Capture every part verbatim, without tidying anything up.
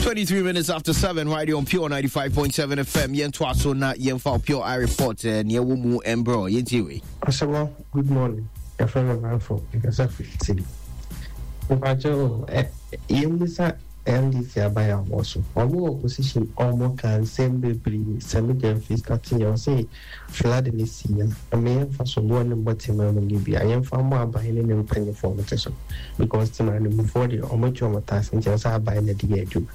Twenty-three minutes after seven, right here on Pure ninety-five point seven F M. Yɛn so na yɛn Pure I report near Wumu Embro. Yɛn ti Asɛmɔ, good morning. Yɛfrɛ me Manfo, mekasa firi Italy. Mepakyɛ yɛmmisa N D C aban a wɔwɔ so. Ɔmo wɔ opposition, ɔmo ka nsɛm bebree. Sɛ megya mfi starting yɛ, ɔse flood ne si a, ɛma yɛmfa so boɔ ne mbɔ tema mu ne bi a, yɛmfa mmɔ aban ne ne mpanyinfoɔ ɔmo te so. Because tema ne mufoɔ deɛ, ɔmo twe ɔmo tax nti ɛsɛ aban na de yɛ adwuma.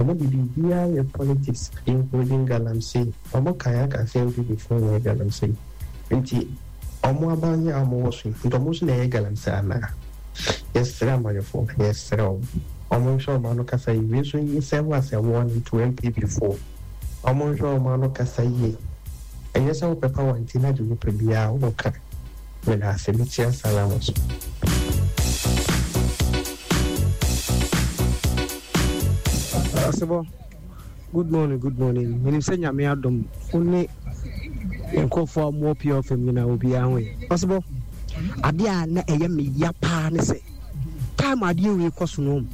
Ɔmo de biribiara yɛ politics, including galamsey. Ɔmo kan aka sɛ N P P foɔ yɛ galamsey. Nti ɔmo aban yɛ a ɔmo wɔ so yi, nti ɔmo nso na ɛyɛ galamsey anaa? Yɛsrɛ amayɛfoɔ, yɛsrɛ ɔmo. Ɔmo nhwɛ ɔmo ano kasa yie. Wei nso yi sɛ wo asɛ warning to N P P foɔ. Ɔmo nhwɛ ɔmo ano kasa yie. Ɛnyɛ sɛ wopɛ power nti na de wopɛ biara woka. Meda ase, mekyia Salam so. Asebo, good morning, good morning. Menim sɛ Nyame adom wo ne nkurɔfoɔ a wɔwɔ Pure F M nyinaa obiara ho yɛ. Asebo, adeɛ a na ɛyɛ me ya paa ne sɛ time adeɛ wei kɔ so no,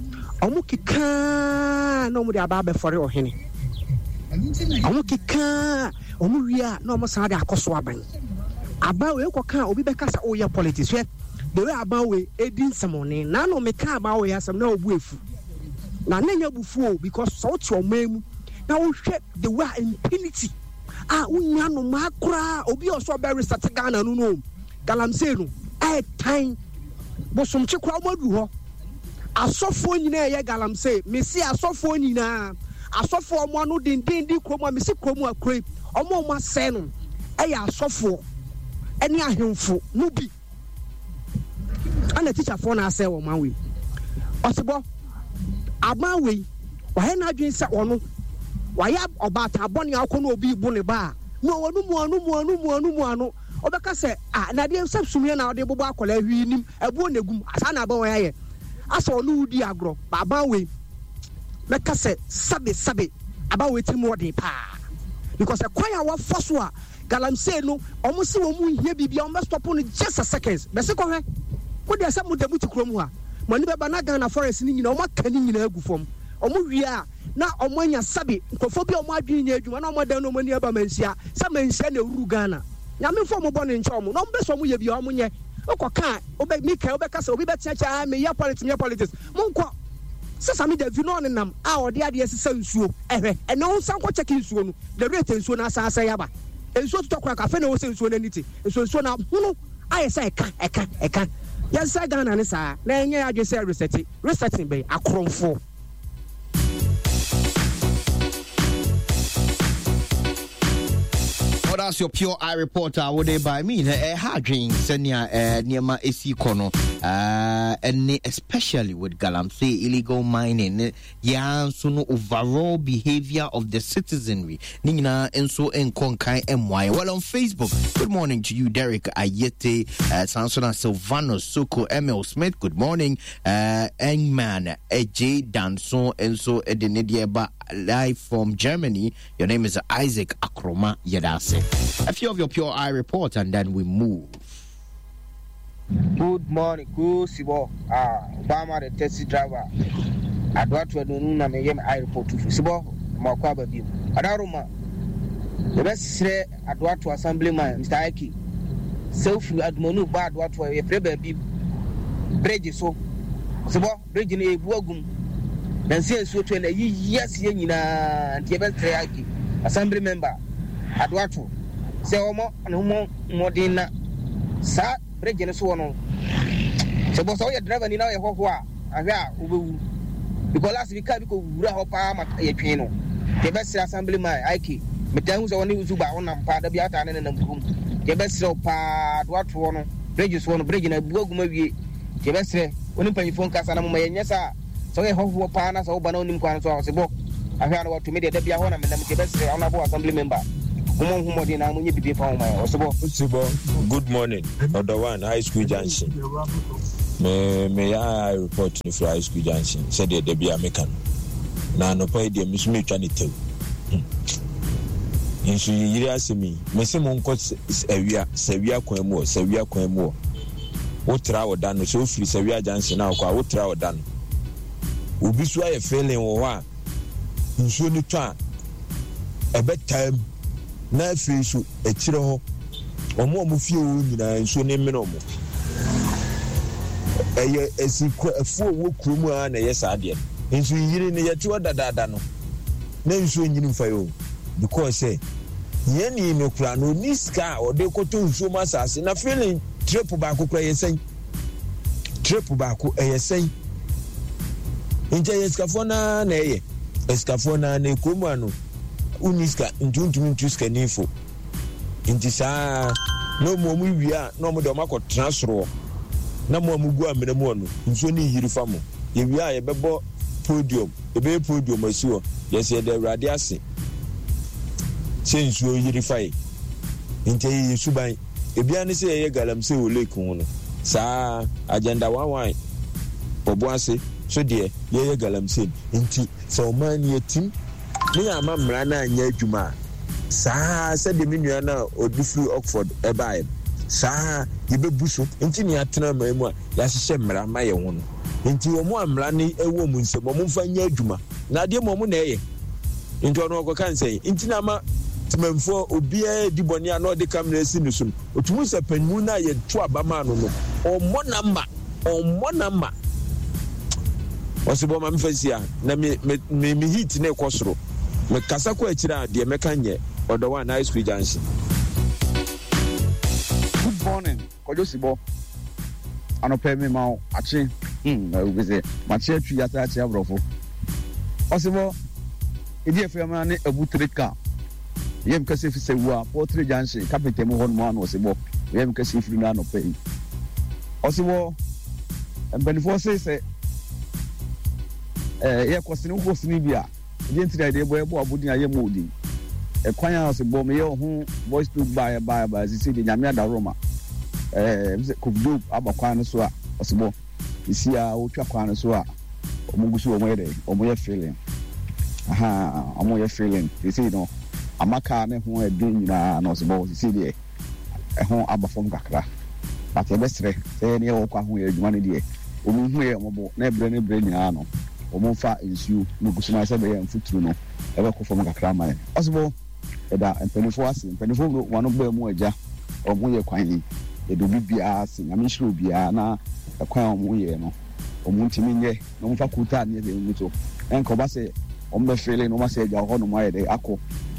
ɔmo kekaa na ɔmo de aba abɛfɔre ɔhene. Ɔmo kekaa, ɔmo wie a na ɔmo san de akɔ so aban. Aban wei kɔka obi bɛka sɛ ɔyɛ politics. Hwɛ, the way aban wei edi nsɛmɔne. Na na meka aban wei asɛm na obu efu. Na ne nya bufu o, because sɛ wote ɔman mu na wohwɛ the way impunity a wonya no ma koraa obi a ɔsɔ bɛ reset Ghana no no. Galamsey no ɛtan bosomkye koraa ɔmo adu hɔ. Asɔfoɔ nyinaa ɛyɛ galamsey. Mesi asɔfoɔ nyinaa, asɔfoɔ ɔmo ano denden di kurom a mesi kurom a kure ɔmo ɔmo asɛe no ɛyɛ asɔfoɔ ɛne ahemfo no bi. Ɛna teacherfoɔ na asɛe wɔn awe. Ɔsebɔ aban wei wayɛ n'adwene sɛ ɔno wayɛ ɔbaatan bɔne akɔ na obi bu ne ba a na ɔno mu ano mu ano mu ano mu ano ɔbɛka sɛ ah na adeɛ sɛ sumiɛ na ɔde bobɔ akɔla hwii nim ɛbuo na egum saa na aban wei ayɛ asɛ ɔno wudi agorɔ ba aban wei mɛka sɛ sabe sabe aban wei ti mu ɔden paa because ɛkwan a wɔfa so a galamsey no ɔmo si wɔn mu nhia biribi a ɔmo bɛ stop no just a seconds bɛsi kɔhwɛ mo deɛ sɛ mo da mo ti kurom ha mo ani bɛba na Ghana forest ni nyinaa ɔmo aka ne nyinaa agu fam ɔmo wie a na ɔmo anya sabe nkurɔfoɔ bi a ɔmo adwene nyɛ adwuma na ɔmo adan na ɔmo ani aba manhyia sɛ manhyia na ewuru Ghana nyame fo ɔmo bɔ ne nkyɛn ɔmo na ɔmo bɛ sɛ ɔmo yɛ bi a ɔmo nyɛ ɔkɔ kaa ɔbɛ mika ɔbɛka sɛ obi bɛkyerɛkyerɛ a meyɛ politics meyɛ politics mo nkɔ sɛ Sami Davi na ɔnenam a ɔde adeɛ sesa nsuo ɛhwɛ ɛna ɔnsan kɔ kyɛke nsuo no the rate nsuo no asan asɛe aba nsuo totɔ koraa kafe na ɛwɔ sɛ nsuo no ani te nsuo nsuo no ahono ayɛ sɛ ɛka ɛka ɛka yɛnsɛ Ghana ne saa na ɛnyɛ adwene sɛ resɛte resetting bɛyɛ akorɔmfoɔ. Well, that's your Pure Eye reporter. Would they by me? Eh, ha dream senia eh near esi kono uh and especially with galamsey illegal mining. Yeah, so no overall behavior of the citizenry. Nina and so in Konkai M Y. Well, on Facebook, good morning to you, Derek Ayete, uh, Sansona Silvano Soko, Emil Smith. Good morning, uh, Engman, J Danson, and so Edenidieba live from Germany. Your name is Isaac Akroma Yedase. A few of your Pure Eye report, and then we move. Good morning, good Sibo. Ah, Obama, the taxi driver. Adwatu adonu na me yem eye report to Sibo makwa ba bi. Adaroma. The best sre Adwatu assemblyman Mister Ike. Self admonu ba Adwatu ye pre ba bi bridge so. Sibo bridge na ebu agum. Na nse nsuo to na yi yes ye nyina nti ye best sre Ike assembly member Adwatu. Se omo na omo modin na sa bridge no so no. Sibo so ye driver ni na ye hoho a ahwe a obewu. Because last week I go wura hɔ paa ma ye twen no. The best assembly man I K. Me tell you so oni uzuba won pa da bi ata ne nam krum. The best pa do ato no. Bridge so no bridge na bu aguma wie. The best oni panyifo nkasa na mo ye nyesa. So ye hoho paa na so ba na onim kwan so a se bo. Ahwe ana watu me de da bia ho na me nam the best honorable assembly member. Mo hu modin na mo nye bibi fa ho ma o se bo. Sibo, good morning. Other one high school junction. Me me I report to the high school junction. Said the Debia Mekan. Na no pay the Miss me trying to tell. Nso yiri asemi. Me se mo nko awia, sawia kwan mu, sawia kwan mu. Wo tra wo dan no so free sawia junction na kwa wo tra wo dan. Obi so aye failing wo ho a Nsuo no tɔ a, ɛbɛtaa mu, na afei nso akyire hɔ, wɔn a wɔn fie wɔ hɔ nyinaa nsuo no mmene wɔn. Ɛyɛ asikuafoɔ a wɔwɔ kurom a na ɛyɛ saa adeɛ no. Nso yiri no yɛte hɔ dadaada no, na nsuo nyini mfa yɛ o. Because sɛ hiani no koraa no ɔnni sika a ɔde kɔtɔ nsuo mu asase na filling trip baako koraa yɛ sɛn? Trip baako ɛyɛ sɛn? Nti ɛyɛ sikafoɔ no ara na ɛyɛ. Asikafoɔ no ara na kurom ano wonni sika nti wontumi ntu sikani fo. Nti saa na wɔn wɔn wie a na wɔn de wɔn akɔtena soroɔ na mo a mo gu amena mu no nsuo no yiri fa mo. Yɛwie a yɛbɛbɔ podium, yɛbɛyɛ podium asi hɔ. Yɛsɛ yɛda Awurade ase sɛ nsuo yiri fa yɛ. Nti ɛyɛ yɛ suban. Ebia ne sɛ yɛyɛ galamsey wɔ lake ho no. Saa agenda one one ɔbo ase so deɛ yɛyɛ galamsey. Nti sɛ ɔman no yɛtim ne yɛama mmara no anyɛ adwuma a, saa sɛdeɛ me nua no a ɔde firi Oxford ɛbaeɛ no, saa yɛbɛbu so. Nti ne yɛatena man mu a yɛahyehyɛ mmara ma yɛn ho no. Nti wɔn a mmara no wɔ wɔn nsam, wɔn mfa nyɛ adwuma. Na adeɛ mu wɔn na ɛyɛ. Nti ɔno ɔkɔka nsɛn. Nti na ama temanfoɔ obiara di bɔne a na ɔde kamera asi ne so no, ɔtumi sɛ panyin no a yɛto aba maa no no, ɔmmɔ namba, ɔmmɔ namba. Ɔsɛ bɔ ma mefa si a na me me me me heat ne kɔ soro. Mekasa kɔ akyire a deɛ mɛka nyɛ ɔdɔ one high school junction. Good morning, Kwadwo Sibɔ. Anɔpɛ mi ma wo akye. Hmm, na obi sɛ makye atwi asa akye aborɔfo. Ɔsebɔ, ɛdi afiri ne abu three car. Yɛm kɛse fi sɛ wua Poultry Junction carpenter mu hɔ nom ano ɔsebɔ. Yɛm kɛse firi no anɔpɛ yi. Ɔsebɔ, mpanimfoɔ se sɛ ɛɛ yɛkɔ sini wokɔ sini bi a ɛdeɛ nti na yɛde bɔ yɛbɔ abodin a yɛmmɔ odin. Ɛkwan a ɔsebɔ meyɛ ɔho voice note baeɛ baeɛ baeɛ sisi deɛ Nyame adaworoma. Ɛɛ sɛ Kofi aba kwan no so a ɔsebɔ esi a wotwa kwan no so a wɔn gu so wɔn yɛ dɛ wɔn yɛ filling aha wɔn yɛ filling sisi no ama kaa ne ho ɛdun nyinaa na ɔsebɔ sisi deɛ ɛho aba fam kakra but yɛbɛsrɛ sɛ yɛn yɛ wɔ kwan ho yɛ adwuma no deɛ wɔn hu yɛ wɔn bo na ɛbrɛ ne brɛ nyinaa no wɔn mfa nsuo na gu so ma sɛ bɛyɛ mfuturo no ɛbɛkɔ fam kakra ama yɛn ɔsebɔ ɛda mpanimfoɔ ase mpanimfoɔ wɔn ano bɛɛ mu agya wɔn yɛ kwan yi yɛde obi biara ase Nyame nhyira obiara na ɛkwan a wɔn yɛ no wɔn ntumi nyɛ na wɔn fa kuta ne yɛ mu so ɛnka ɔba sɛ wɔn bɛ fele na wɔn asɛ agya hɔ nom ayɛ dɛ akɔ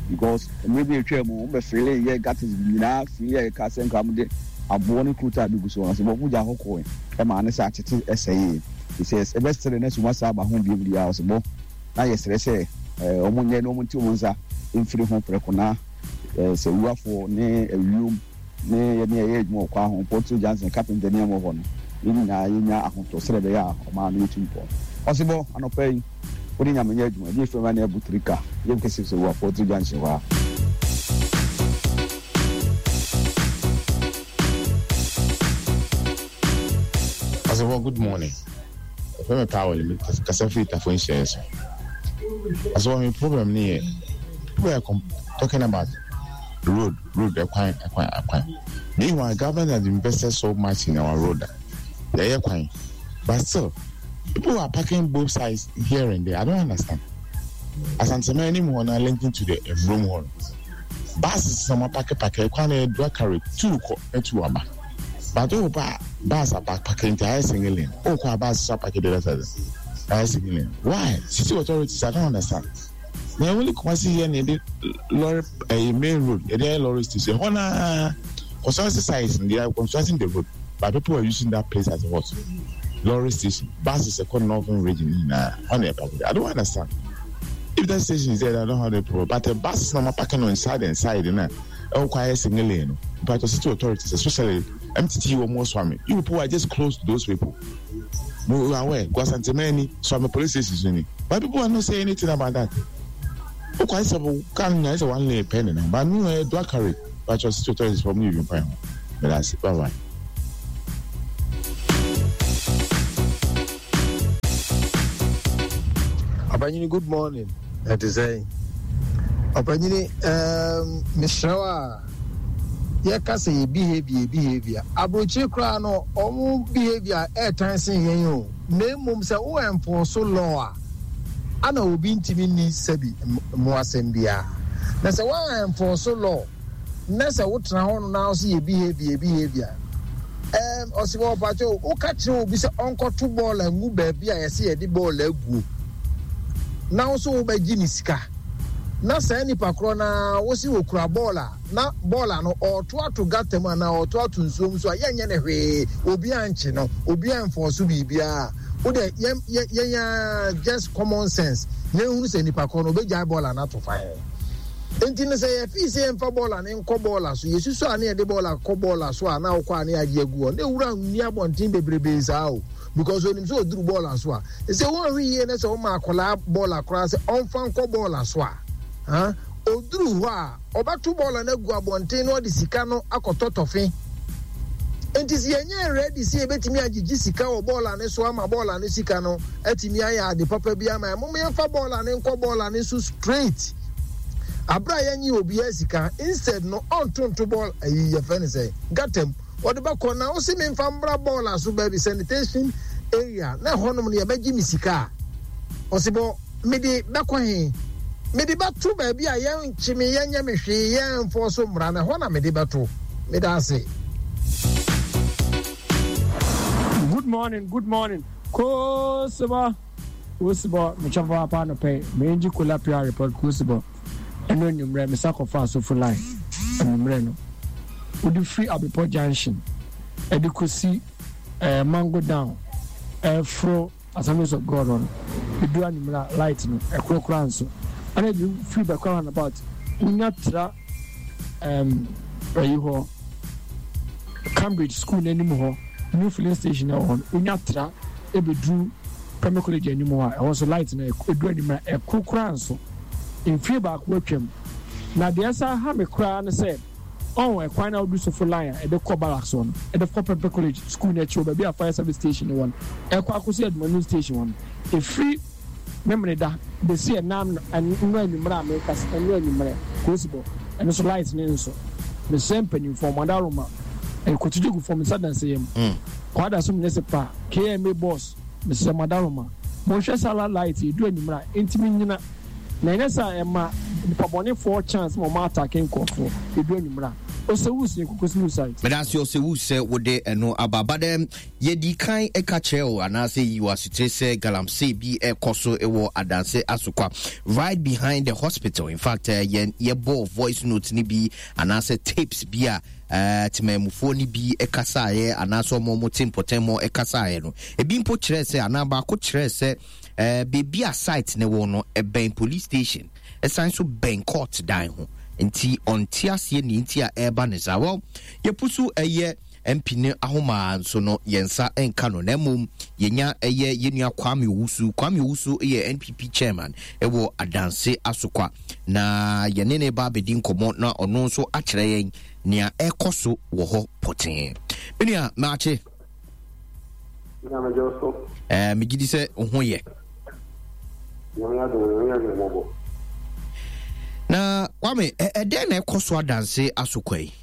because mmerɛ bi atwa mu wɔn bɛ fele yɛ gutters nyinaa fele a yɛka sɛ nka wɔn de aboɔ ne kuta bi gu so wɔn sɛ wɔn gya hɔ kɔɛ ɛma ne sɛ atete ɛsɛ yie sɛ ɛbɛsere na sɛ wɔn asa aba ho bio deɛ ɔsɛ bɔ na yɛsrɛ sɛ ɛɛ wɔn nyɛ na wɔn nti wɔn nsa mfiri ho prɛko na ɛɛ sɛ wuafoɔ ne awiom ne yɛne yɛyɛ adwuma wɔ kwan ho Poultry Junction carpenter ne ɛwɔ hɔ no yɛn nyinaa yɛnya ahotɔ sɛdeɛ ɛbɛyɛ a ɔman no yɛtu mpɔn. Ɔsebɔ anɔpa yi wode Nyame nyɛ adwuma ɛdeɛ firi ma ne abu tirika yɛm kɛse sɛ wɔ Poultry Junction hɔ a. Ɔsebɔ, good morning. Ɛfɛ me Powell, me kasa firi Tafo nhyɛn so. Ɔsebɔ, me problem ne yɛ people are talking about road, road, ɛkwan, ɛkwan, ɛkwan. Meanwhile, government has invested so much in our road. Yɛyɛ kwan, but still, people are parking both sides here and there. I don't understand. Asantema anim hɔ na linking to the room hɔ no. Buses na wɔn apake pake ɛkwan na yɛ dual carriage two kɔ na two aba. But o ba bus aba pake nti ayɛ single lane. O kɔ a bus so apake the other side. Ayɛ single lane. Why? City authorities, I don't understand. Na only Kumasi here na yɛde lorry ɛyɛ main road yɛde ayɛ lorry station hɔ naa construction sites they are constructing the road but people are using that place as a what lorry station buses ɛkɔ northern region nyinaa hɔ na ɛpa I don't understand if that station is there I don't have the problem but the buses na wɔn parking on side and side na ɛwɔ kɔ ayɛ single lane no but the city authorities especially M T T wɔn wɔ Swami you people are just close to those people. We are aware. Guasantemani, Swami police station. But people are not saying anything about that. Okay, so can I say one lane penny? But no, I do carry. But your sister is from you, you find. But that's it. Bye bye. Opanyini, good morning. That is a Opanyini, um, Mister Wa. Yɛka sɛ yɛ behavior behavior aburokyire koraa no ɔmo behavior ɛɛtan sen yɛn o na emom sɛ wo enforce law a Ana obi ntumi nni sɛbi mmoasɛm biara. Na sɛ woan enforce law na sɛ wotena hɔ no na wo sɛ yɛ behavior behavior. Um, ɔsi wɔ ɔpakyɛ woka kyerɛ obi sɛ ɔnkɔto bɔɔl angu baabi a yɛsɛ yɛde bɔɔl aguo na wo so wobɛgye ne sika na saa nipa korɔ na wo si okura bɔɔl a na bɔɔl ano ɔɔto ato gutter mu anaa ɔɔto ato nsuom so a yɛnyɛ ne hwee, obi ankye no, obi amfɔ so biribiara. Wo de yɛn yɛn yɛn just common sense yɛnhunu sɛ nipa korɔ no obɛgyae bɔɔl ano ato fa hɛn. Nti no sɛ yɛfii sɛ yɛmfa bɔɔla ne nkɔ bɔɔla so, yɛsusu a ne yɛde bɔɔla kɔ bɔɔla so a na wokɔ a ne yɛagye agu hɔ na ewura nni abɔnten bebrebee saa o, because onim sɛ ɔduru bɔɔla so a sɛ wɔnhwɛ yie na sɛ wɔma akwadaa bɔɔla koraa sɛ ɔmfa nkɔ bɔɔla so a ha ɔduru hɔ a ɔbɛto bɔɔla no agu abɔnten na ɔde sika no akɔtɔ tɔfe. Nti sɛ yɛnyɛ ready sɛ yɛbɛtumi agyegye sika wɔ bɔɔla ne so ama bɔɔla no sika no atumi ayɛ ade papa bi ama yɛn, moma yɛmfa bɔɔla ne nkɔ bɔɔla ne so straight. Abra yɛnye obiara sika, instead no ɔntonto bɔɔl ayi yɛfrɛ no sɛ gutter mu ɔde bɛkɔ na wosi memfa mbra bɔɔla so baabi sanitation area na ɛhɔnom no yɛbɛgye me sika a ɔsi bɔ mede bɛkɔ he, mede bɛto baabi a yɛnkye me yɛnyɛ me hwee yɛmfɔ so mmara na ɛhɔ na mede bɛto. Mede ase. Good morning, good morning. Kosiba, Kosiba, mekyɛ papa no pɛ. Menji kola pia report Kosiba. Ɛno anwummerɛ mesa kɔfa asofo line anwummerɛ no. Wode firi Abepɔ Junction ɛde kɔsi eh, Mango Down ɛforo Assemblies of God no. Ɛdu anwummerɛ a light no ɛkoro koraa nso. Ɛna ɛde firi Bɛkwa roundabout wonya tra um, ɛyi hɔ Cambridge School n'anim hɔ new filling station ɛwɔ hɔ no wonya tra ɛbɛduru Primary College anim hɔ a ɛhɔ nso light no ɛdu anwummerɛ a ɛkoro koraa nso. Mfie baako atwam na deɛ ɛsa ha me koraa ne sɛ ɔn ɛkwan na wodu sofo line a ɛde kɔ barracks hɔ no ɛde kɔ Prempeh College school n'akyi wɔ baabi a fire service station wɔ no ɛkɔ akɔsi Adumanu station hɔ no ɛfiri Memeneda bɛsi ɛnam ɛno anwummerɛ a meka ɛno anwummerɛ kosibɔ ɛno so light ne nso mesɛ mpanimfoɔ ɔmo ɛkɔtugye gu fam nsa danse yam kwada so municipal K M A boss mesɛ madaroma monhwɛ sala light ɛdu anwummerɛ a ɛntimi nyina na ɛnyɛ sɛ ɛma nipa chance ma ɔmo attack nkɔfoɔ ɛdu anwummerɛ a ɔsɛ wusu yɛ kokosi site. Medase ɔsɛ wu sɛ wode ɛno aba but um, yɛdi kan ɛka kyerɛ o anaasɛ yi wɔ asotire sɛ galamsey bi ɛkɔ so ɛwɔ Adanse Asokwa right behind the hospital. In fact, uh, yɛn yɛbɔ voice note ni bi anaasɛ tapes bi a uh, temamufoɔ ni bi ɛkasaeɛ anaasɛ ɔmo ɔmo te mpɔtɛmɔ ɛkasaeɛ no ebi mpo kyerɛ sɛ anaa baako kyerɛ sɛ uh, beebi a site ne wɔ no ɛbɛn police station ɛsan so bɛn court dan ho nti ɔnte aseɛ ne nti a ɛreba ne saa. Well, yɛpu so ɛyɛ M P ne ahoma nso no yɛn nsa nka no na mmom yɛnya ɛyɛ yɛnua Kwame Owusu. Kwame Owusu yɛ N P P chairman ɛwɔ Adanse Asokwa na yɛne ne ba abɛdi nkɔmmɔ na ɔno nso akyerɛ yɛn nea ɛkɔ so wɔ hɔ pɔtee. Menua maakye. Eh, megye di sɛ wo ho yɛ. Na Kwame, ɛdɛn na ɛkɔ so Adanse Asokwa yi?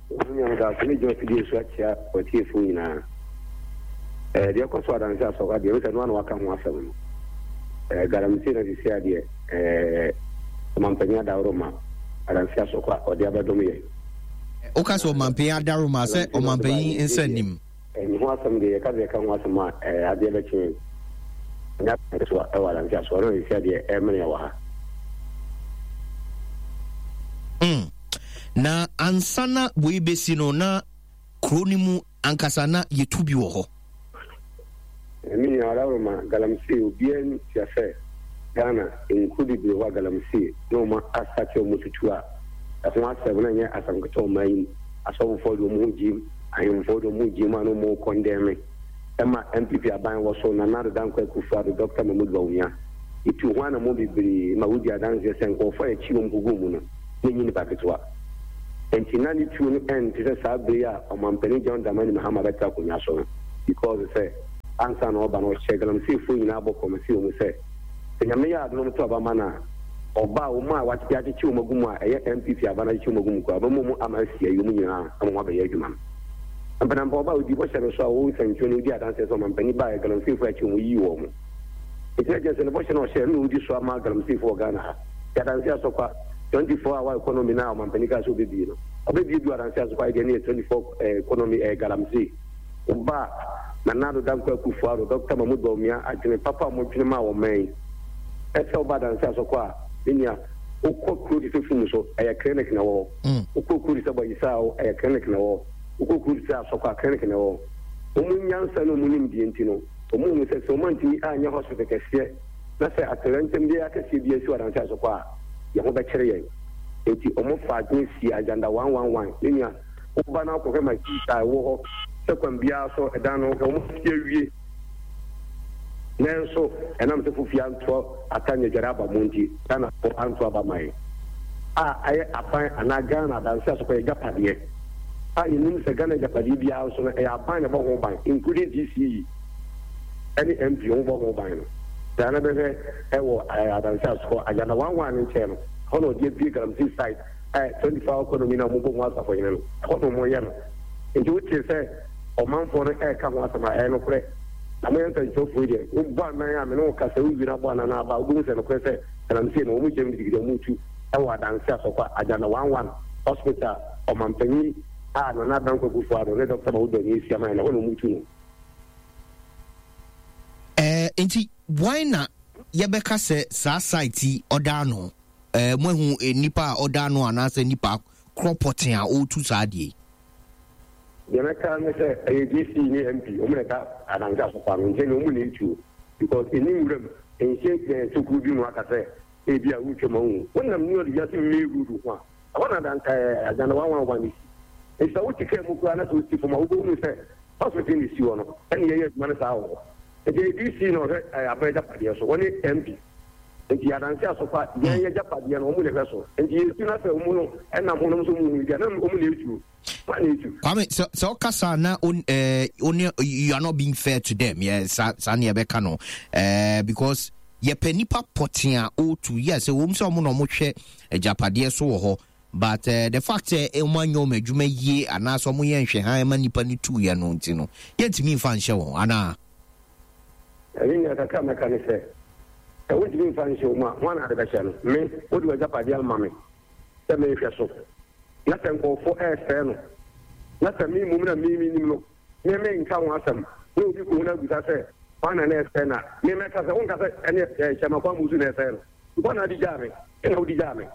Eh, deɛ ɛkɔ so Adanse Asokwa deɛ, wosɛ no ana waka ho asɛm no. Eh, galamsey na sisi adeɛ, eh, ɔmampanyin adaworoma Adanse Asokwa ɔde abɛdom yɛ. Woka sɛ ɔmampanyin adaworoma sɛ ɔmampanyin nsa nim. Ne ho asɛm deɛ yɛka sɛ yɛka ho asɛm a, eh, adeɛ bɛkye. Nya so ɛwɔ Adanse Asokwa na sisi adeɛ ɛmene wɔ ha. Mm. Na ansa na wei bɛsi no na kuro no mu ankasa na yɛtu bi wɔ hɔ. Me nua adaworoma galamsey obiara ntia sɛ Ghana nkuro bebree hɔ a galamsey na ɔma asate ɔmo tutu a ɛho asɛm na nyɛ asɛm ketewa ɔman yi mu. Asɔfofoɔ de ɔmo ho gyim, ahemfoɔ de ɔmo ho gyim a na ɔmo kɔndɛme. Ɛma N P P aban wɔ so, Nana Addo Dankwa Akufo-Addo, Doctor Mahmoud Bawumia. Etu ho anammɔn bebree ma wodi adanseɛ sɛ nkurɔfoɔ a yɛkyi wɔn kɔgu mu no, na ɛnyɛ nipa ketewa. Enti na ne tuo no ɛnte sɛ saa bere a ɔmampanin John Dramani Mahama bɛtena akonnwa so no, because sɛ ansa na ɔba no ɔhyɛ galamseyfoɔ nyinaa bɔ promise wɔ mu sɛ sɛ Nyame yɛ adom no to aba ma no a, ɔba a wɔn a yɛakyekye wɔn agu mu a ɛyɛ N P P aba no akyekye wɔn agu mu koraa, ɔbɛma wɔn ama asi ayi wɔn nyinaa ama wɔn abɛyɛ adwuma no. Mpanampa ɔba a odi bɔhyɛ no so a wɔwɔ nsɛnkyerɛ no odi adanseɛ sɛ ɔmampanin baa galamseyfoɔ akyi wɔn yii wɔn. Nti na kyerɛ sɛ ne bɔhyɛ no a ɔhyɛɛ no na ɔredi so ama galamseyfoɔ wɔ Ghana ha. Nti Adanse Asɔkwa twenty four hour economy no a ɔmampanin kaa sɛ ɔbɛbie no, ɔbɛbie bi wɔ Adanse Asɔkwa deɛ no yɛ twenty four economy ɛyɛ galamsey. Woba a, Nana Addo Dankwa Akufo-Addo, Doctor Mahmood Bawumia adwene papa a wɔdwene maa ɔman yi, ɛsɛ woba Adanse Asɔkwa a, me nua, wokɔ kuro te sɛ Fum so, ɛyɛ clinic na ɛwɔ hɔ. Wokɔ kuro te sɛ Bɔyisaa, ɛyɛ clinic na ɛwɔ hɔ. Wokɔ kuro te sɛ Asɔkwa, clinic na ɛwɔ hɔ. Wɔn nyansa ne wɔn nimdeɛ nti no, wɔhunu sɛ sɛ wɔantumi anyɛ hospital kɛseɛ na sɛ atoyerɛnkyɛm biara kɛseɛ biara si wɔ Adanse Asɔkwa a, yɛn ho bɛkyere yɛn. Enti wɔfaa adwene sii Agenda one one one. Me nua, woba na wokɔhwɛ machines a ɛwɔ hɔ sɛ kwan biara so ɛdan no, hwɛ wɔasi awie. Nanso ɛnam sɛ Fofie antoa ata nyɛ dware aba mu nti, Ghanafoɔ anto aba ma yɛn. A ɛyɛ aban anaa Ghana Adanse Asɔkwa yɛ agyapadeɛ a yɛnim sɛ Ghana agyapadeɛ biara nso no ɛyɛ aban na ɛbɔ ho ban including D C E ɛne M P wɔn bɔ ho ban no. Saa na bɛhwɛ ɛwɔ Adanse Asɔkwa Agenda one one no nkyɛn no, ɛhɔ na ɔde abue galamsey site a twenty four hour economy na wɔbɔ ho asafohene no, ɛhɔ na wɔyɛ no. Nti wote sɛ ɔmanfoɔ no ɛreka ho asɛm a, ɛyɛ nokorɛ. Na moyɛ nsɛnkyerɛwfoɔ yi deɛ, wobɔ anan a me ne wo kasa, wowie na abɔ anan no aba a, wobɛhu sɛ nokorɛ sɛ galamsey no wɔn gyam gidigidi a wɔretu wɔ Adanse Asɔkwa Agenda one one Hospital ɔmanpanyin a Nana Dankwa Akufo-Addo ne Doctor Mahmoud Bawumia asi ama yɛn no, ɛhɔ na wɔretu no. Ɛɛ nti why na yɛbɛka sɛ saa site yi ɔda ano? Ɛɛ moahu nipa a ɔda ano anaasɛ nipa korɔ pɔten a ɔretu saa adeɛ yi? Deɛ mɛka ne sɛ ɛyɛ D C ne M P wɔn na ɛda Adanse Asɔkwa no nkyɛn na wɔn na ɛtuo because ɛni nwuram nhyɛ ɛɛ tokuro bi mu aka sɛ ebi a wotwa mu ahu wonam New York wiase main road ho a ɛhɔ na adan ɛɛ Agenda one one one si. Nti sɛ wote kaa mu koraa na sɛ wosi fam a wobɛhunu sɛ hospital na esi hɔ no ɛna yɛyɛ adwuma no saa wɔ hɔ. Nti ɛyɛ D C na ɔhwɛ ɛɛ aban agyapadeɛ so wɔne M P. Nti Adanse Asɔkwa yɛn yɛ agyapadeɛ no wɔn na ɛhwɛ so. Nti yɛsu na sɛ wɔn no ɛnam ho nom so wɔn hu bi a na wɔn na ɛtuo. Kwame, sɛ sɛ ɔkasa na on eh, on you are not being fair to them. Yeah, saa saa ne yɛbɛka no. Eh, because yɛpɛ nipa pɔten a ɔretu. Yes, ɛwɔ mu sɛ ɔmo na ɔmo hwɛ agyapadeɛ so wɔ hɔ. But uh, the fact sɛ ɔmo anyɛ ɔmo adwuma yie anaasɛ ɔmo yɛ nhwɛhan ma nipa no tuiɛ no nti no, yɛntumi nfa nhyɛ wɔn anaa? Ɛne nea kakra mɛka ne sɛ, sɛ wontumi nfa nhyɛ wɔn a, hwan na ade bɛhyɛ no? Me, wode w'agyapadeɛ ama me sɛ menhwɛ so. Na sɛ nkurɔfoɔ ɛresɛe no, na sɛ me mmom na me menim no, me menka ho asɛm, na obi kɔhu no abisa sɛ, hwan na na ɛresɛe no a, me mɛka sɛ, wonka sɛ ɛne ɛɛ Kyɛmakwa Amusu na ɛresɛe no. Hwan na ade gyaa me? Ɛna wode gyaa me.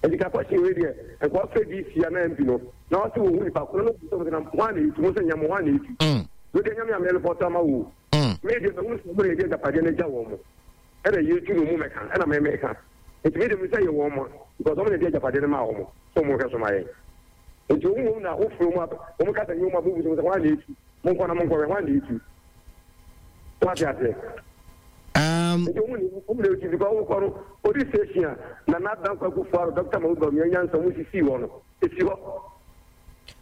Nti ka question wei deɛ, nka wafrɛ D C anaa M P no, na wase wɔhu nipa ko no, na wɔbisa sɛ, na hwan na ɛtu? Mo sɛ nyɛ mo, hwan na ɛtu? Wei deɛ nyame a merepɔto ama wo o. Me deɛ mahu sɛ wɔn na yɛde agyapadeɛ no agya wɔn mo. Ɛna yɛtu no mu mɛka, ɛna me meka. Nti me deɛ mehu sɛ yɛ wɔn mo, because wɔn na yɛde agyapadeɛ no maa wɔn, sɛ wɔn nhwɛ so ma yɛn. Nti wɔn mmom na wofrɛ wɔn a, wɔn ka sɛ nyɛ wɔn a, bɛbu sɛ hwan na ɛtu? Monkɔ na monkɔhwɛ, hwan na ɛtu? Wate aseɛ? Um, Nti wɔn na wɔn na ɛtu, because wokɔ no, police station a Nana Dankwa Akufo-Addo, Doctor Mahmoud Bawumia nyansa wɔn sisii hɔ no, ɛsi hɔ.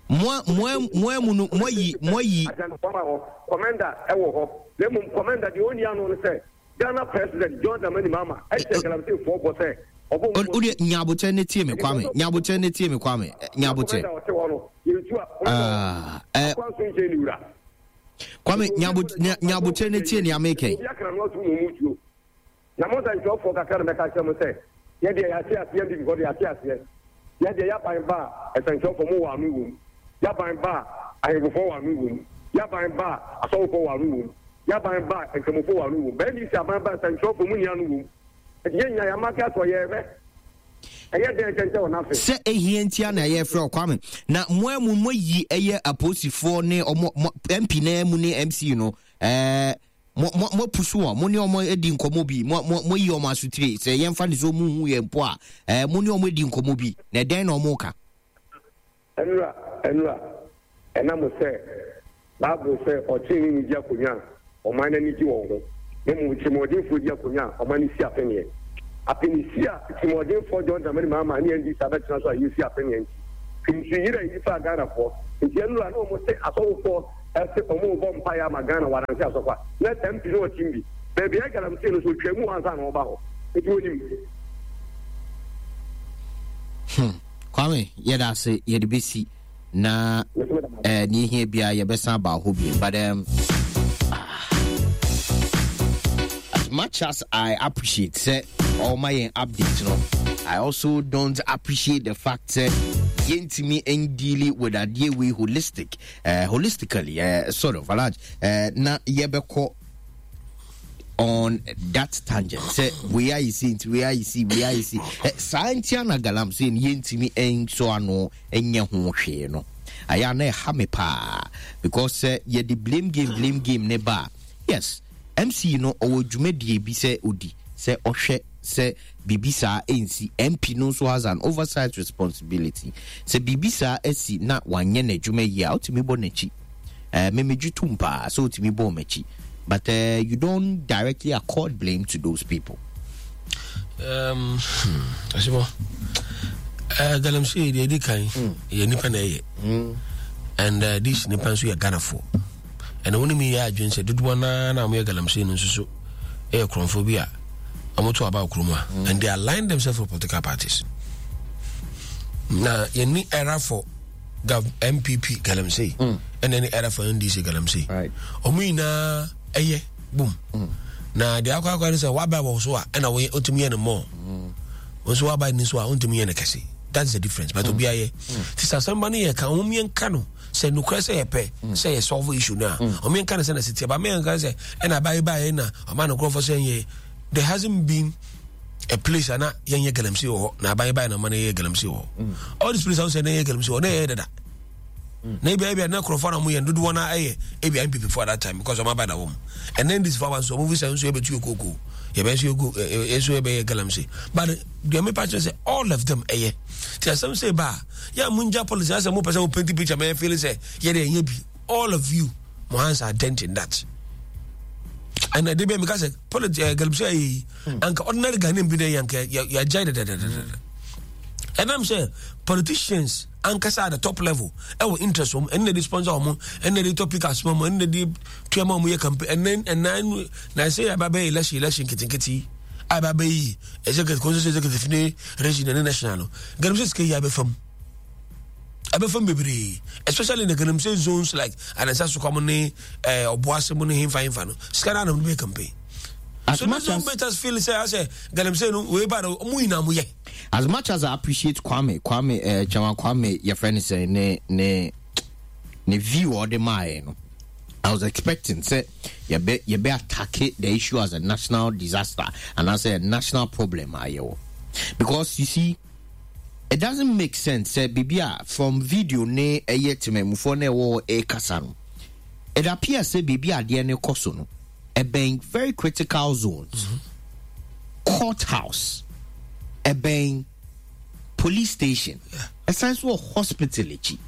Mo mo mo mu no mo ayi mo ayi. Agenda wɔn hɔ, commander ɛwɔ hɔ. Na mmom commander deɛ ɔnni ano no sɛ Ghana President John Dramani Mahama ɛhyɛ galamsey foɔ bɔ sɛ ɔbɔ mu. O deɛ nyaabotɛ ne tie me Kwame, nyaabotɛ ne tie me Kwame, nyaabotɛ. Commander ɔte hɔ no, yɛntu a Ah, eh, akwan so nkyɛn ne wura. Kwame, nyaabotɛ ne tie nea meka yi. Obi akana no atum na ɔmu tuo. Na mo nsɛnkyerɛwfoɔ kakra na mɛka kyerɛ mo sɛ yɛdeɛ yɛate aseɛ N P P foɔ deɛ yɛate aseɛ. Yɛdeɛ yɛaban ba a nsɛnkyerɛwfoɔ mo wɔ ano wɔ mu. Yɛaban ba a ahemfofoɔ wɔ ano wɔ mu. Yɛaban ba a asɔfofoɔ wɔ ano wɔ mu. Yɛaban ba a nkramofoɔ wɔ ano wɔ mu. Bɛn de si aban ba a nsɛnkyerɛwfoɔ mo nni ano wɔ mu. Nti yɛn nyinaa yɛamake ato yɛrehwɛ. Ɛyɛ dɛn kyɛnkyɛn wɔ n'afe. Sɛ ehia ntia na yɛfrɛ wo Kwame. Na mo a mu moayi ɛyɛ apolisifoɔ ne ɔmo mo M P na mu ne M C no ɛɛ mo mo mo apusu wɔn, mo ne wɔn adi nkɔmɔ bi, mo mo mo yi wɔn asotire sɛ yɛmfa ne sɛ wɔn hu yɛn mpo a, ɛɛ mo ne wɔn adi nkɔmɔ bi na ɛdɛn na wɔn ka? Ɛnura ɛnura ɛnam sɛ Bible sɛ ɔtreneeni ni di akonnwa a, ɔman no ani gye wɔn ho, na mmom tirimɔdenfoɔ di akonnwa a, ɔman no si apeneɛ. Apenesi a tirimɔdenfoɔ John Dramani Mahama ne N D C abɛtena so a yɛsi apeneɛ nti, nsu yere a ɛyi faa Ghanafoɔ. Nti ɛnura na wɔn se asɔfofoɔ ɛse wɔn rebɔ mpaeɛ ama Ghana wɔ Adanse Asɔfo a, na M P no ɔtim bi. Baabi a galamsey no so ɔtwa mu hɔ ansa na ɔba hɔ. Nti wɔnim. Hmm. Kwame, yɛda ase, yɛde bɛsi na eh, nea ɛhia biara yɛbɛsan aba hɔ bio. But um, ah, much as I appreciate sɛ ɔma yɛn update no, I also don't appreciate the fact sɛ yɛntumi ndeal with adeɛ wei holistic uh, holistically uh, sort of alaj uh, na yɛbɛkɔ on that tangent sɛ wei ayɛ si nti wei ayɛ si wei ayɛ si eh, saa nti ana galamsey no yɛntumi nsɔ ano nyɛ ho hwee no ayɛ ana ɛha me paa because sɛ yɛde blame game blame game ne ba a yes M C no ɔwɔ dwumadie bi sɛ odi sɛ ɔhwɛ sɛ biribi saa ɛnsi. M P no nso has an oversight responsibility sɛ biribi saa asi na wanyɛ n'adwuma yie a, wotumi bɔ n'akyi. uh, memegye tom paa sɛ wotumi bɔ m'akyi, but uh, you don't directly accord blame to those people. um, hmm, Asibɔ, uh, galamsey deɛ ɛdi kan yɛ nipa na ɛyɛ mm. and uh, this nipa nso yɛ Ghanafoɔ ɛna wɔn mi yɛ adwene sɛ dodoɔ naa na wɔyɛ galamsey no nso so ɛyɛ kurɔnfoɔ bi a wɔn to aba kurom a mm. and they align themselves with political parties. Na yɛni era for Gav N P P galamsey mm. ɛna ɛne era for N D C galamsey. Wɔn nyinaa ɛyɛ boom mm. Na deɛ akɔ akɔ ne sɛ waba wɔ so a ɛna wɔyɛ ɔtumi yɛ no mɔɔ mm. Nso waba ni so a ɔntumi yɛ no kɛse. That's the difference, but mm. obi ayɛ ti sɛ asɛmba no yɛ ka wɔn yɛn ka no sɛ nukurɛ sɛ yɛpɛ sɛ yɛ solve issue no a, wɔn yɛn ka no sɛ na sɛ tia ba mɛ yɛn ka sɛ ɛna abayi ba yɛ na ɔma no nkurɔfoɔ sɛ yɛ there hasn't been a place ana yɛn yɛ galamsey wɔ hɔ na aban ba yɛ na ɔma no yɛ galamsey wɔ hɔ. All these places sɛ na yɛ galamsey wɔ na yɛ dada na ebi ebi na nkurɔfoɔ na wɔn yɛ dodoɔ na ɛyɛ ebi N P P for that time because wɔn aba na wɔn and then this for nso wɔn fi sɛ nso yɛbɛtu yɛ kooko yɛbɛ nso yɛ go ɛ nso yɛbɛyɛ galamsey, but deɛ mepa kyerɛ sɛ all of them ɛyɛ ti asɛm sɛ ba a yɛ a mo ngya policy asɛ mo pɛ sɛ mo paint picture mɛ feel sɛ yɛ de ɛnyɛ bi. All of you mo hands are dent in that and ɛde bɛ mi ka sɛ politics ɛ galamsey ayɛ yi anka ordinary Ghanaian bi na yɛ anka yɛ yɛ agya dɛdɛdɛdɛdɛ. Ɛnam sɛ politicians ankasa at the top level ɛwɔ interest wɔn ɛnna de sponsor wɔn, ɛnna de topic asoma wɔn, ɛnna de tua ma wɔn yɛ campaign. Ɛnna ɛnna na ɛsɛ yɛ aba bɛyɛ election election nketenkete yi a ɛba bɛyɛ yi executive constituency executive ne region ne national no, galamsey sika yi abɛfam abɛfam bebree, especially in the galamsey zones like Anansa Sukam ne ɛɛ Ɔboase mu ne hemfa hemfa no, sika no anam no bɛyɛ campaign. As so much this don't as make us feel say I say galamsey no wei ba no ɔmo nyinaa mo yɛ. As much as I appreciate Kwame Kwame uh, Chairman Kwame, your friend say ne ne ne view or the my no, I was expecting say you be you be attack the issue as a national disaster and as a national problem ayo, because you see it doesn't make sense sɛ biribi a from video ne ɛyɛ temamufoɔ na ɛwɔ ɛkasa no, it appears sɛ biribi adeɛ ne kɔ so no ɛbɛn very critical zones mm-hmm. Courthouse, ɛbɛn police station, ɛsan so wɔ hospital akyi,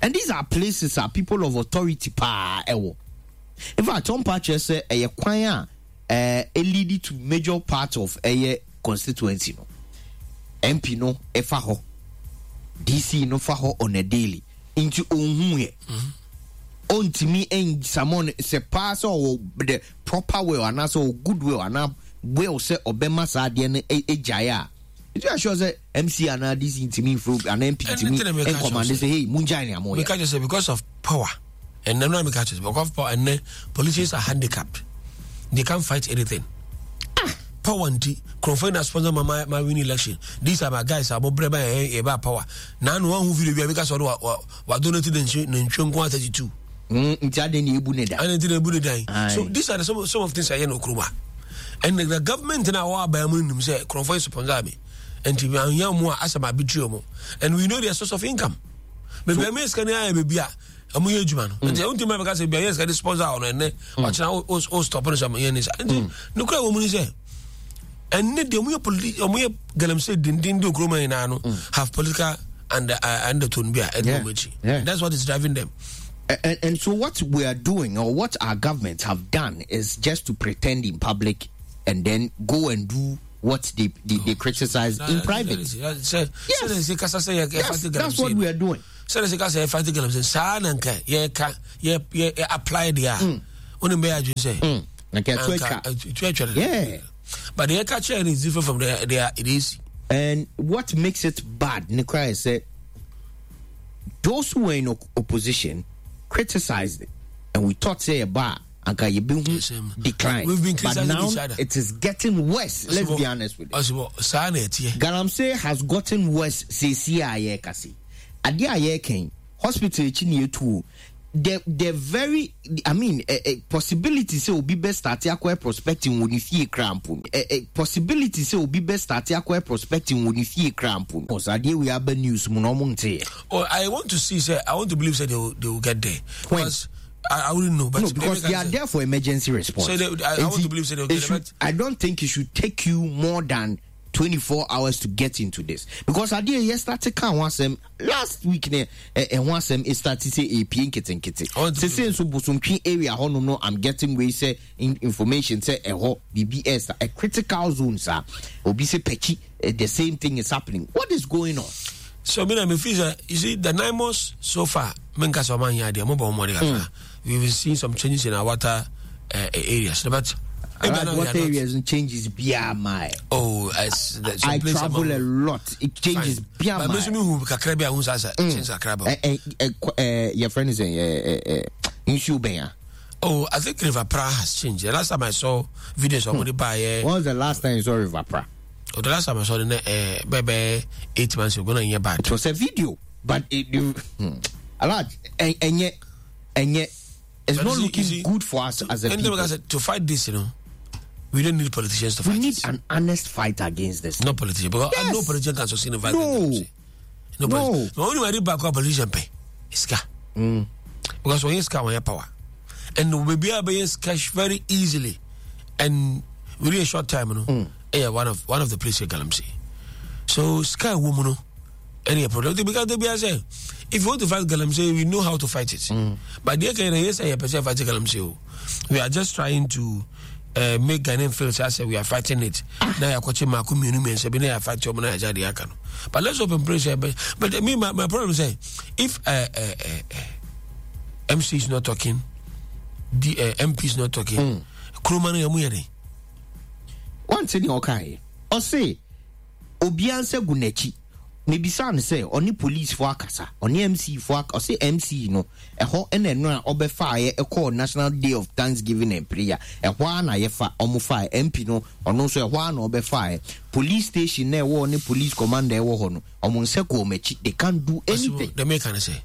and these are places a people of authority paa ɛwɔ. In fact, ɔmpa kyerɛ sɛ ɛyɛ kwan a ɛɛ lead to major part of ɛyɛ constituency no. M P no ɛfa hɔ, D C no fa hɔ on a daily, nti ohun yɛ ɔntumi nsamɔ sɛ paa sɛ ɔwɔ the proper will anaasɛ ɔwɔ good will anaa will sɛ ɔbɛma saa adeɛ no agyae a, nti assure sɛ M C anaa D C ntumi nfuro anaa M P ntumi ncommand sɛ, "Hey, mungyae nea moyɛ." Meka kyerɛ sɛ because of power, ɛnɛ no a meka kyerɛ sɛ because of power, ɛnɛ politicians are handicapped, they can't fight anything ah. Power nti kurɔfoɔ na sponsor ma ma ma win election. These are my guys a wɔbrɛ ba yɛ yɛ ba power na ano wɔn ho video bi a meka sɛ ɔde wa wa wa donate ne ntwe ne ntwe nko thirty two. Nti ade na ebu ne dan. Ade nti na ebu ne dan. So these are the some some of things a yɛ no kuroma and the, the government na wɔn aban mu nim sɛ kurɔfoɔ yi sponsor mi nti ahia mu a asɛm abitiri wɔn, and we know their source of income. Beebi a mi sika ni ayɛ beebi a ɔmo yɛ adwuma no nti ɛwɔ ntoma bɛka sɛ bi a yɛ sika de sponsor ɔno ɛnɛ ɔkyena o o stop no sɛ ɔmo yɛ ne sa. Nti nukura wɔn mu ni sɛ ɛnɛ deɛ ɔmo yɛ politi ɔmo yɛ galamsey denden de okuroma nyinaa no have political and uh, undertone bi a ɛdi wɔn akyi. That's what is driving them. And, and so what we are doing or what our governments have done is just to pretend in public and then go and do what they, they, they criticize in private. Yes, yes, that's what we are doing. Sɛde sɛ ka sɛ yɛfa galamsey saa na nka yɛka yɛ yɛ apply deɛ a wonim bɛyɛ adwene sɛ nka ɛto atwa. Ɛto atwa. Yeah. But deɛ yɛka kyerɛ no is different from the, the, it is. And what makes it bad, Nikra, is that those who were in opposition criticized it. And we thought, say, bah, anka yɛbɛhu decline. We've been But criticizing now each other. it is getting worse. Let's be honest with you. Ɔsibɔ saa na ɛteɛ. Galamsey has gotten worse seesie a yɛreka se. Adeɛ a yɛreka hospital akyi ne yɛtu o. The the very, I mean, eh, eh, possibility sɛ obi bɛ start akɔyɛ prospecting wɔ ne fie kra mpo no. Eh, eh, possibility sɛ obi bɛ start akɔyɛ prospecting wɔ ne fie kra mpo no. Adeɛ wei aba news mu na ɔmo nteɛ. Oh, I want to see say I want to believe say they will, they will get there. When? Because I, I wouldn't know, but No, because they are there for emergency response. So they, I, I want to believe say they will It get there. should, I don't think it should take you more than twenty-four hours to get into this, because adeɛ yɛ start ka ho asɛm last week ne ɛho asɛm e start sɛ epie nketenkete sese nso Bosomtwi area hɔ no no I'm getting wei sɛ information sɛ ɛhɔ biribi ɛsa a critical zone saa obi sɛ Pɛkyi, the same thing is happening. What is going on? So me na me feel sɛ, you see, the NAIMOS so far, me nka sɛ ɔman yɛ adeɛ mo bɔ ɔmo de kakra. We've been seeing some changes in our water uh, areas, but Right, water areas and changes bia my. Oh, as the, I travel a lot. It changes bia my. But me who kakra bia who sasa change kakra ba. Eh eh eh your friend is eh eh eh nsuo bɛn. Oh, I think River Pra has changed. The last time I saw videos of hmm. buy. When was the last time you saw River Pra? Oh, the last time I saw it, eh, baby, eight months ago, na bad. It was a video, but it, you, hmm. A lot, and and yet, and yet, it's but not see, looking see, good for us to, as a people. To fight this, you know, we don't need politicians to fight. We need this. An honest fight against this. No politician, because yes. no politician can sustain a fight. No, no, no. But only when back up politician pay, it's car. Mm. Because when you scar, when you power, and we be able to cash very easily, and within a short time, you know. Mm. Yeah, one of one of the places galamsey. So sky woman, no, any problem because they be say, if you want to fight galamsey, we know how to fight it. Mm. But they can yes, I percent fight galamsey. We are just trying to uh, make Ghanaian feel say we are fighting it. Ah. Now you are catching my community and say, I fight you, but let's open praise. But, but me, my, my problem is if uh, uh, uh, M C is not talking, the uh, M P is not talking, mm. Kromanu yamu. One thing okay. Or say obianse gunechi. Maybe san say only police for akasa, only M C for or say M C no. Eho ene no obefa ye e National Day of Thanksgiving and Prayer. Ehwa na ye fa omofa M P no ono so ehwa na obefa police station na wo ne police commander wo ho no. Omo ko omechi, they can't do anything. The me can say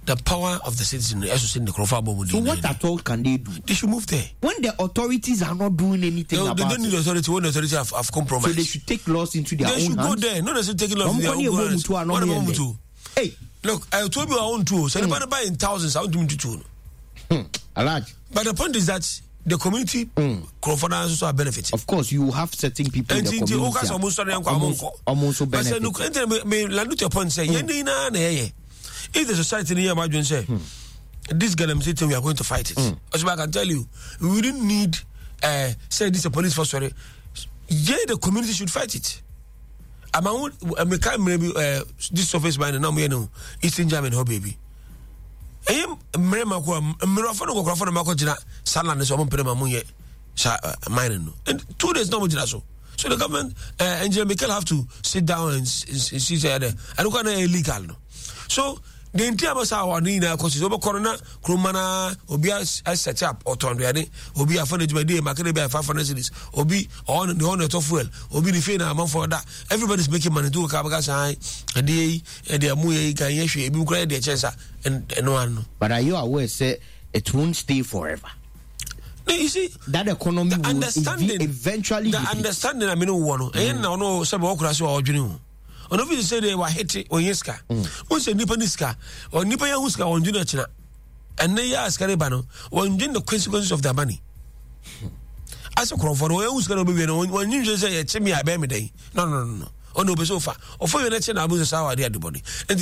the power of the citizen is in the Crawford. So what at all can they do? They should move there. When the authorities are not doing anything they, about they don't need it. Authority. When the authorities have, have compromised. So they should take laws into their they own should hands. They should go there. No, they should take laws into their own hands. What about Mutu? Hey. Look, I told you I own two. So mm. buy in thousands. I want to two. Hmm. Alaj. But the point is that the community mm. Crawford also are benefiting. Of course, you have certain people in the community. Almost benefit. But point say, if the society here, imagine say, hmm. this galamsey thing, we are going to fight it. Mm. As I can tell you, we didn't need uh, say this a police force. Sorry, yeah, the community should fight it. I'm I'm maybe uh, this surface mine now we know Eastern German ho baby. Eh, mrema ko mrefo no ko no makọ salan so mo pere ma sa mine no. And two days no mo gina so. So the government uh, Engineer Michael have to sit down and see say there. I don't know illegal no. So the entire masa wa ni na kosi so corona kromana obi set up otonduane obi afọ na dwumade makere bi five hundred cedis obi on the on to fuel obi ni fe na amanfo da everybody is making money to ka ba sai ade yi e de amu yi kan ye hwe ebi kura de chensa and no one. But are you aware say it won't stay forever? No, you see that economy the will understanding eventually the understanding I mean no no e na no se ba okura so odwene ho. Ono fi say they were hit on yeska. Won say nipa ni sika or nipa ya hu sika won dwene kina. Enne ya sika re ba no won dwene the consequences of their money. As a crowd for won sika no be we no won dwene say ye chemi abe me den. No no no no. Ono be so fa. Ofo ye na china abu say sawa de adeboni.